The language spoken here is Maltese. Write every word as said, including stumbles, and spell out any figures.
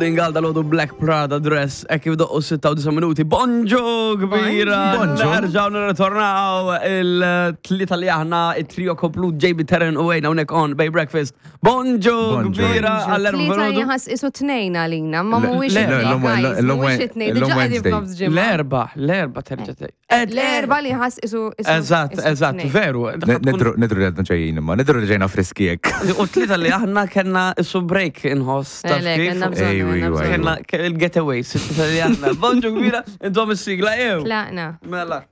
Għal dal-għodu Black Prada Dress, e kif doqqu sitta u disgħin minuti. Bonġu kbira! Bonġu. Nerġaw nirritornaw il-tlieta li aħna, il-trio komplut, J B, Terren u Wayne, hawnhekk on Bay Breakfast. Bonġu Bonġu. kbira għall-erba Tlieta filgħodu. jħas isu tnejn għalina, ma Le- mhuwiex le, it-tnejn, l-lum- guys, l-lum- mhuwiex it-tnejn, l-lum diġà qegħdin Wednesday. f'nofs ġimgħa. L-erba, l-erba terġa' tgħid. L-erba li ħas isu isu- Eżatt, isu eżatt, tnejn. veru. Nidru nidru li għadna ġejjin imma, nidru li ġejna friski jek. U tlieta li aħna kellna isu break inħoss, taf Eh, le, kif? kellna bżonn, Ejju, kellna ejju, bżonn. Kellna il-getaway, sitta li aħna. Bonġu kbira, intom is-sigla jew. Tlaqna. Mela.